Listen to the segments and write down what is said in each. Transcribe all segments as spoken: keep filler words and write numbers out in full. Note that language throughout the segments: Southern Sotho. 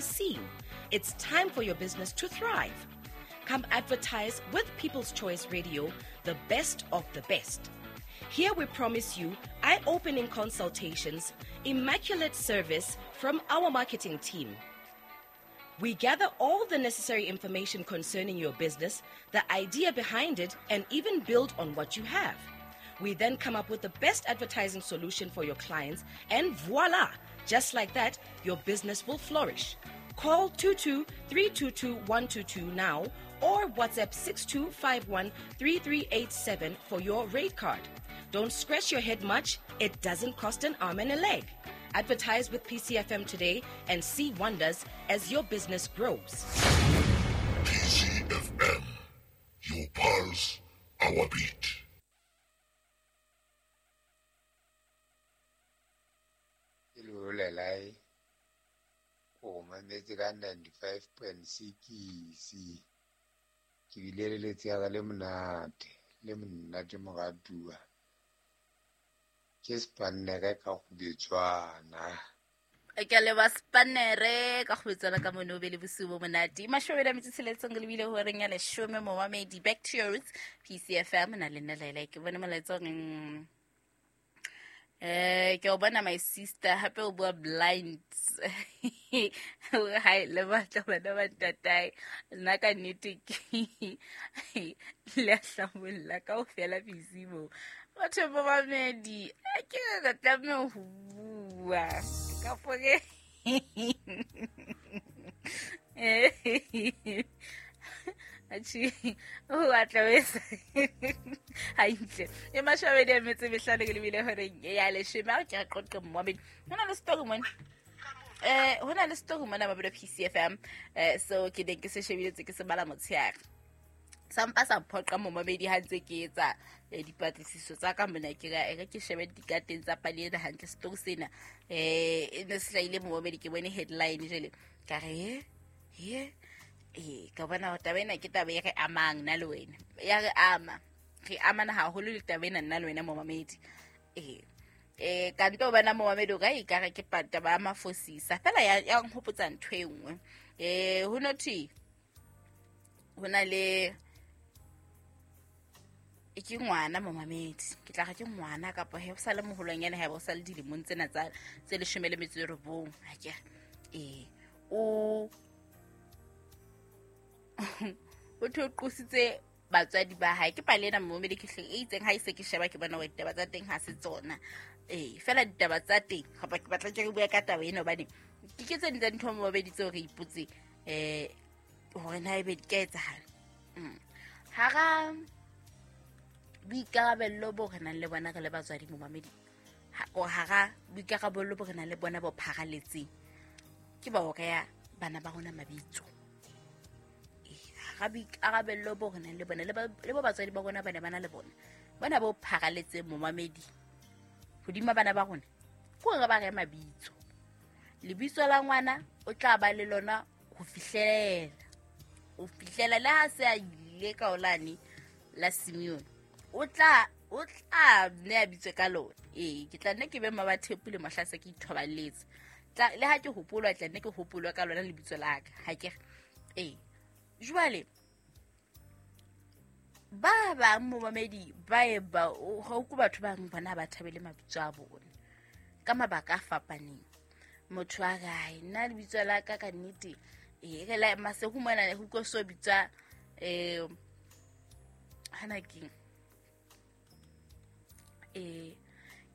seen. It's time for your business to thrive. Come advertise with People's Choice Radio, the best of the best. Here we promise you eye-opening consultations, immaculate service from our marketing team. We gather all the necessary information concerning your business, the idea behind it, and even build on what you have. We then come up with the best advertising solution for your clients, and voila! Just like that, your business will flourish. Call two two three two two one two two now or WhatsApp six two five one three three eight seven for your rate card. Don't scratch your head much. It doesn't cost an arm and a leg. Advertise with P C F M today and see wonders as your business grows. P C F M, your pulse, our beat. O mametse ka ninety-five point six. Ke bile le letsheare le monate, le monate moratuwa. Ke Spanere ka go betswana. Ke le ba Spanere ka go betswana ka mono be le bosiu bo monate. Mashome a metso tsheletseng le bile horeng ya leshome momamedi. Back to your roots P C F M na le nna Laila ke bone molaetsa reng. Eh, ke o bona my sister hape o bua blind. Hi le batla bana ba ntatae. Nna ka nnete ke le hlabolla kaofela busy mo. Batho ba mamedi, ke ka tlameha ho bua. Ka pore. Achi, o atla wesa. Hantle. E mashabedi a metse mehlano ke lebile hore ya leshome a ke qoqe mmamedi. Hona le story mona. Eh, hona le story mona ba P C F M. Eh, so ke ne ke se shebile ke se bala motsheare. Sampa sa phoqa momamedi ha ntse ke etsa dipatlisiso tsa ka mona ke ra e ke shebe dikateng tsa pale ena hantle story sena. Eh, e ne se hlaile momamedi ke bone headline jele. Ka re he eh ka bona taba ena ke taba e re amang nna le wena. Ya re ama. Re amana haholo le taba ena nna le wena momamedi. Eh eh ka nto bana momamedi o ka e ka re ke taba ya mafosisa. Fela ya ya nhopotsa ntho e nngwe. Eh ho nothi hona le e ke ngwana momamedi. Ke tla ga ke ngwana kapa he o sa le moholwanyana ha ba o sa le dilemong tsena tsa tse leshome le metso e robong. Ha ke eh o o thoqositse batswadi ba hae ke pale ena momamedi ke hleng e itseng ha ise ke sheba ke bona hore ditaba tsa teng ha se tsona. Eh fela ditaba tsa teng kapa ke batla ke bua ka taba ena hobane ke ke tse ding tsa dintho momamedi tseo re ipotse eh hore na ebe di ka etsahala. Hara boikarabello bo re nang le bona re le batswadi momamedi, hara boikarabello bo re nang le bona bo pharaletseng ke ba ho reha bana ba rona mabitso. Ga boikarabello bo re nang le bona le ba batswadi ba rona ba ne ba na le bona bona bo pharaletseng momamedi hodima bana ba rona ke hore ba re mabitso. Lebitso la ngwana o tla ba le lona ho fihlela o fihlela le ha se a ile ka olane la Simeon o tla o tla ne a bitswe ka lona. Ee ke tla nne ke be mmabathepu le mohla se ke ithobaletse tla le ha ke hopolwa tla nne ke hopolwa ka lona lebitso la ka ha ke ee. Jwale ba bang momamedi ba e ba ho ku batho ba bang bona ba thabele mabitso a bona ka mabaka a fapaneng. Motho a gae nna lebitso la ka ka nnete e re la Masego mona ho ko so bitsa eh hana keng eh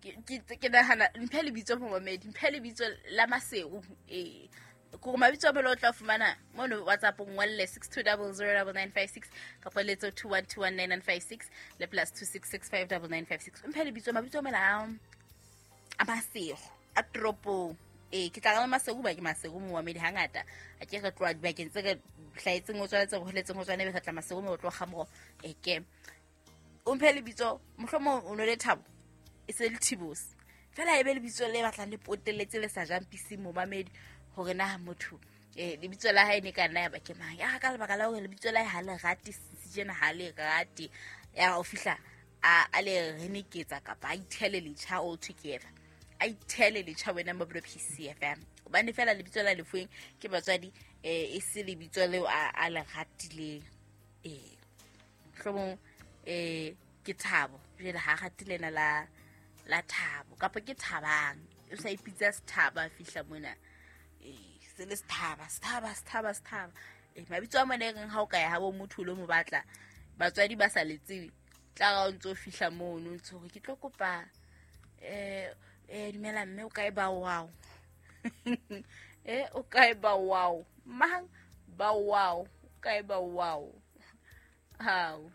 ke ke nahana mphe lebitso momamedi mphe lebitso la Masego eh ko mabitso a belo tla fumana mono WhatsApp ngwalle six two zero zero nine nine five six kapa letso two one two one nine nine five six le plus two six six five nine nine five six. Mphe lebitso mabitso mela a Masego a toropong. Eh ke tla ka Masego ba ke Masego momamedi hangata a ke re tloa dibakeng tse re hlaetseng o tswaletse go holetseng ho tswana be re tla Masego mo tlo ga mo e ke o mphe lebitso mohlomong o no le Thabo e se le Thibos fela e be lebitso le batlang le potelletse le sa jang pisi momamedi hore na motho eh lebitso la hae ne ka nna ya ba ke mang ya ka lebaka la hore lebitso la hae ha le rate sejena ha le rate ya o fihla a a le reneketsa kapa a ithele letjha all together a ithele letjha wena mo P C F M Hobane fela lebitso la lefueng ke batswadi eh e se lebitso leo a a le ratileng. Eh hlomong eh ke Thabo jwale ha ratile na la la Thabo kapa ke Thabang o sa ipitsa Sethaba fihla mona eh se le Sethaba Sethaba Sethaba Sethaba eh mabitso a mona e reng ha o ka ya ha bo motho lo mo batla batswadi ba sa le tsebe tla ra o ntso fihla mono ntso hore ke tlo kopa eh eh dumela mme o kae ba wow eh o kae ba wow mang ba wow o kae ba wow hao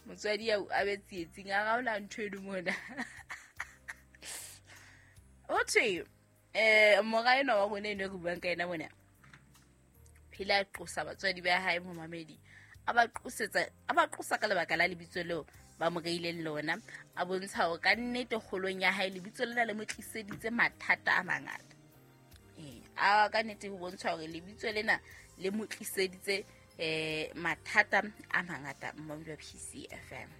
motswadi a be tsietsing a gaola ntho e mona o thwe eh mora ena wa rona eno re buang ka ena mona phela a qosa batswadi ba hae momamedi a ba qosetsa a ba qosa ka lebaka la lebitso leo ba mo reileng lona a bontsha hore ka nnete kgolong ya hae lebitso lena le mo tliseditse mathata a mangata. Eh a ka nnete ho bontsha hore lebitso lena le mo tliseditse eh mathata a mangata mmamedi wa P C F M.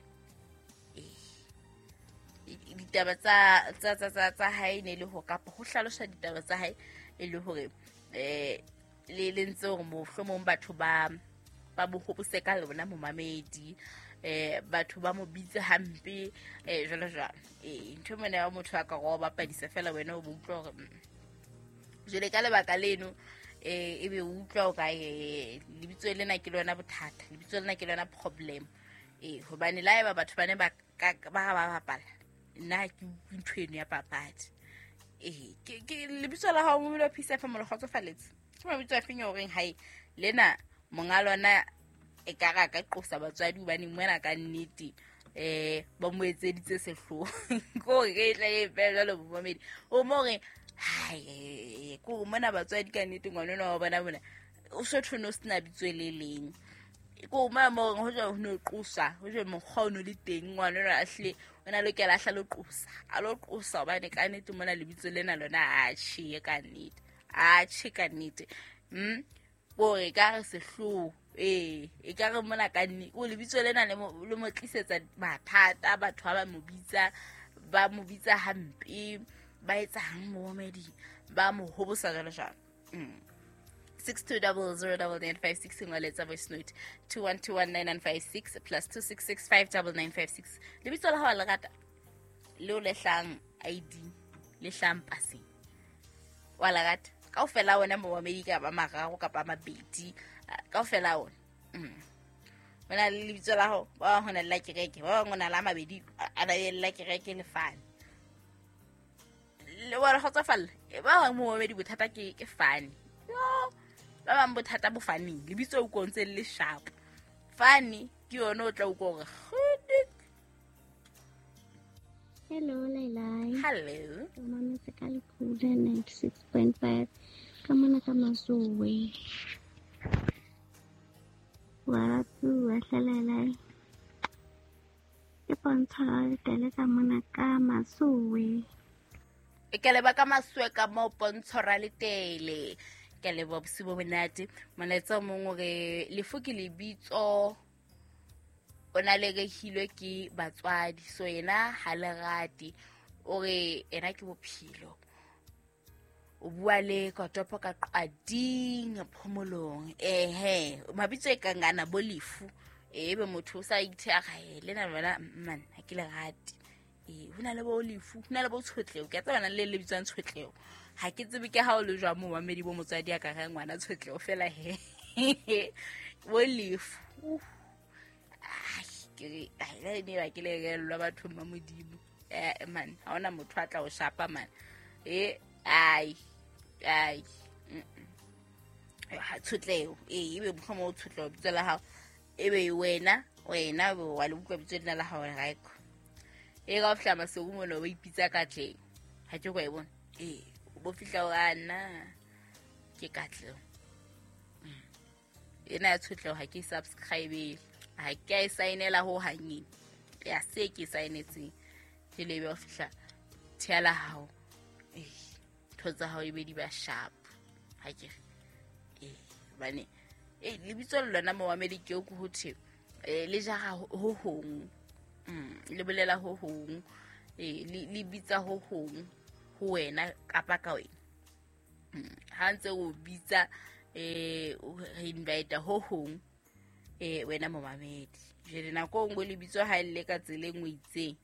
Eh ditaba tsa tsa tsa tsa hae ne le ho kapa ho hlalosa ditaba tsa hae e le hore eh le le ntse hore mohlomong batho ba ba mo hopose ka lona momamedi eh batho ba mo bitse hampe eh jalo jalo. Eh ntho mona ya motho a ka go bapadisa fela wena o bo utlwa hore jele ka lebaka leno eh ebe o utlwa o ka eh lebitso lena ke lona bothata lebitso lena ke lona problem eh hobane la eba batho bane ba ba ba bapala nna ke ntho eno ya papadi eh ke ke lebitso la hao mo P C F M le kgotsofaletse ke mabitso a feng horeng hae lena monga lona e ka ra ka qosa batswadi hobane mona ka nnete eh ba mo etseditse sehloho ko re tla e fela le bomamedi o mo re hai ko mona batswadi ka nnete ngwana wa bona bona o so thone o sena bitso le leng ko ma mo ho jo no qosa ho jo mokgwa o no le teng ngwana ona a hle o na lokela hla lo qosa a lo qosa hobane ka nnete mona lebitso lena lona a tjhe ka nnete a tjhe ka nnete mm bo re ka re sehloho eh e ka re mona ka nne o lebitso lena le le mo tlisetsa mathata batho ba mo bitsa ba mo bitsa hampe ba etsang momedi ba mo hobosa jalo jalo. Mm six two zero zero nine nine five six ngoletsa voice note two one two one nine nine five six plus two six six five nine nine five six. Lebitso la hao le rata leo le hlang I D le hlang paseng wa la rata kaofela wona momedi ka ba mararo kapa mabedi kaofela wona. Mm wena le lebitso la hao ba hona le la kereke ba bang ona la mabedi a na le la kereke le fane le wa kgotsofalla ba bang momedi bothata ke ke fane yo ba bang bothata bo faneng lebitso o kontse le sharp fane ke yona o tla utlwa hore Hello Laila. Hello. Ke mametse ka Lekule ninety-six point five ka mona ka Masowe. Wa bua hle Ke pontsha le ka mona ka Masowe. E ke leba ka Masowe ka mo pontsho ra letele. Ke leba bosibo monate. Molaetsa o mong hore lefu ke lebitso o na le rehilwe ke batswadi so yena ha le rate o re ena ke bophelo o bua le kotopo ka qading phomolong ehe mabitso e kangana bo lefu ebe motho o sa ithe a gae le na lona man ha ke le rate eh hona le bo lefu hona le bo tshotleho ke tsebana le le bitswang tshotleho ha ke tsebe ke ha o le jwa mo mamedi bo motswadi a ka re ngwana tshotleho fela he bo lefu ke ai ne ba ke le relwa batho ba modimo eh man ha ona motho a tla o shapa man eh ai ai ha tshotleho eh ebe mohlomong o tshotleho bitso la hao ebe wena wena wa le utlwa bitso lena la hao raiko e ka fihla Maseru mona o ipitsa Katleng ha ke kwa e bona eh o bo fihla o ana ke Katleng ena ya tshotleho ha ke subscribe ha ke a saenela ho hangeng ya se ke saenetseng ke lebe o fihla thiala hao eh ntho tsa hao ebe di ba sharp ha ke eh bane eh lebitso le lona momamedi ke o go hothe eh le jara ho hong mm le bolela ho hong eh le bitsa ho hong ho wena kapa ka wena. Ha ntse o bitsa eh re invite ho hong eh wena momamedi. Jwale nako nngwe lebitso ha le ka tsela e nngwe itseng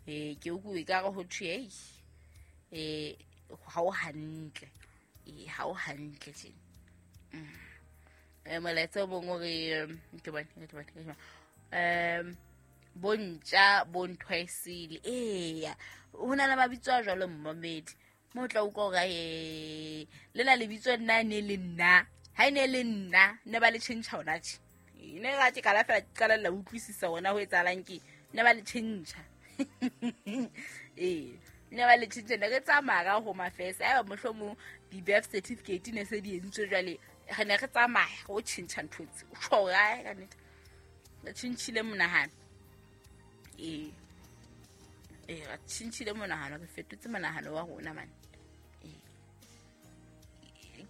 eh ke o ka re ho thwe eh ha o hantle eh ha o hantle tjena. Eh molaetsa o mong o re ke bone ke bone um bontja bontwaisile eya ho na le mabitso a jwalo mmamedi mo tla utlwa hore eh le na lebitso nna ne le nna ha ene le nna ne ba le tjhentjha hona tje ne ga ke kala fela ke qala la utlwisisa hona ho etsahalang ke ne ba le tjhentjha eh ne ba le tjhentjha ne re tsamaya ka home affairs a mohlomong di-birth certificate ne se di entswe jwale re ne re tsamaya go tjhentjha ntho tse o tjho ga ka nnete re tjhentjhile monahano eh eh re tjhentjhile monahano re fetotse monahano wa rona man eh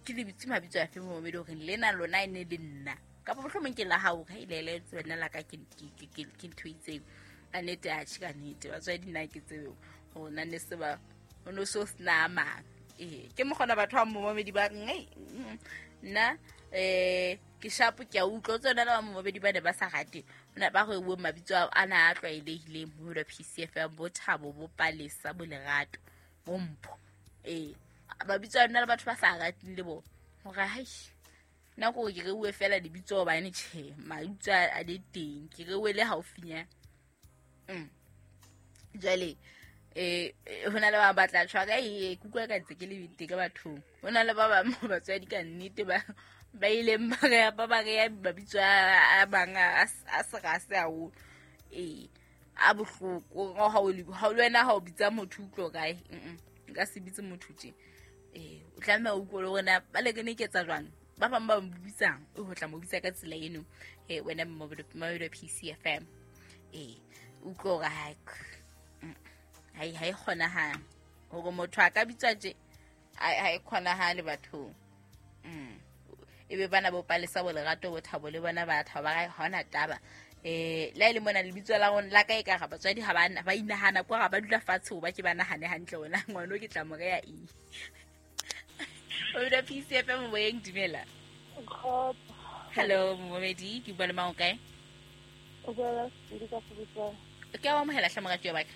ke lebitso mabitso a fe momedi hore lena lona e ne le nna kapa mohlomong ke la hao ha ile le tsena la ka ke ke ke ke ntho itseng a nete a tjhe ka nnete batswadi nna ke tsebe ho na ne se ba o no so sna mang eh ke mogona batho ba momedi ba reng ei nna eh ke shapo ke a utlwa tsona le ba momedi ba ne ba sa rate ona ba go bua mabitso a na a tlwaelehileng ho la P C F M bo Thabo bo Palesa bo Lerato bo Mpho eh mabitso a nna le batho ba sa rateng le bona hore hai nna ko ke reuwe fela lebitso hobane tjhe mabitso a le teng ke reuwe le haufinyana mm jwale eh hona le ba batla tshwa ka e kutlwa ka ntse ke le teng ka bathong hona le ba bang batswadi ka nnete ba ba ileng ba re ba ba re mabitso a bang a serase haholo eh a bohloko ha o ha le wena ha o bitsa motho utlwa kae nka se bitse motho tje eh o tlameha o utlwe hore na ba le ke ne ke etsa jwang ba bang ba mo bitsang o ho tla mo bitsa ka tsela eno eh wena mobile P C F M eh utlwe hore ha hai hai kgonahale hore motho a ka bitswa tje ha e kgonahale bathong mm ebe bana bo Palesa bo Lerato bo Thabo le bona ba thaba ba ha ona taba eh la ile mona lebitso la rona la ka e ka ga batswadi ha ba ba inahana kwa ga ba dula fatshe ho ba ke ba nahane hantle ona ngwana ke tla mo reya eng o dula P C F M moyeng dumela hello momedi ke bua le mang o kae o bua le ka Fubutsa ke a amohela hle morati wa baka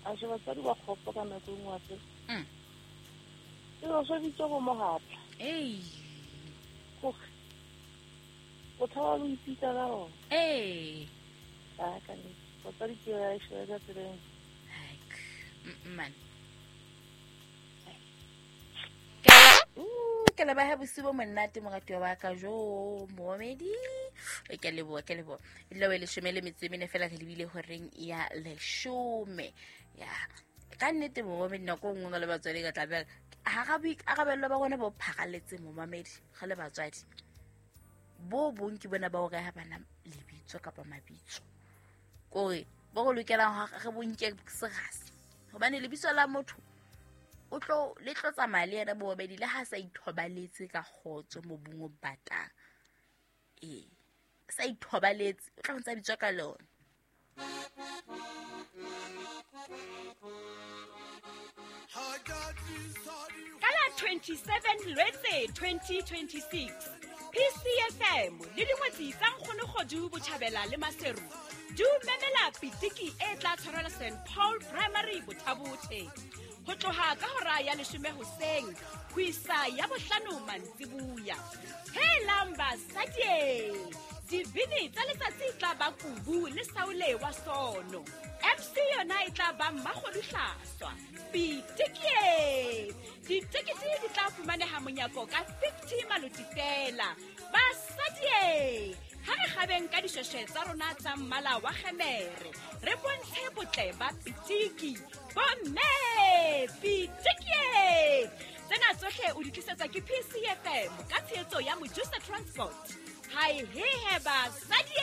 a je batswadi ba kgopo ka nako e nngwe hape mm ke ba swabitse go mohatla ei gore o thaba lo ipitsa ka ona ee a ka nnete batswadi ke ba e shebe ka tseleng man ke leboha bosiu bo monate morati wa ka jo momedi ke leboha ke leboha e tla be leshome le metso e mene fela re lebile horeng ya leshome ya ka nnete momedi nako nngwe le batswadi ka tla be ha ga boikarabelo ba rona bo pharaletse momamedi ga le batswadi bo bong ke bona ba o reha bana lebitso kapa mabitso kore bo go lokelang re bonke serase hobane lebitso la motho o tlo le tlo tsamaya le yena bobedi le ha sa ithobaletse ka kgotso mobung o batang ee sa ithobaletse o tla ntsa bitswa ka lona. Ka la twenty-seven Lwetse twenty twenty-six P C F M le dingwetsi tsa Nkgonokgodu Botjhabela le Maseru di memela pitiki e tla tshwarelwa Saint Paul Primary Bothabothe ho tloha ka hora ya leshome hoseng ho isa ya bohlano mantsibuya. Helang basadi, dibini tsa letsatsi tla ba Kubu le Saule wa Sono. M C yona e tla ba Mmakgodu Hlaswa. Pitiki! Ditekete di tla fumaneha monyako ka fifty maloti fela. Basadi, ha re kgabeng ka dishweshwe tsa rona tsa mmala wa kgemere, re bontshe botle ba pitiki. Bomme, pitiki! Tsena tsohle o di tlisetsa ke P C F M ka tshehetso ya Mojusa Transport. Hai he he basadi!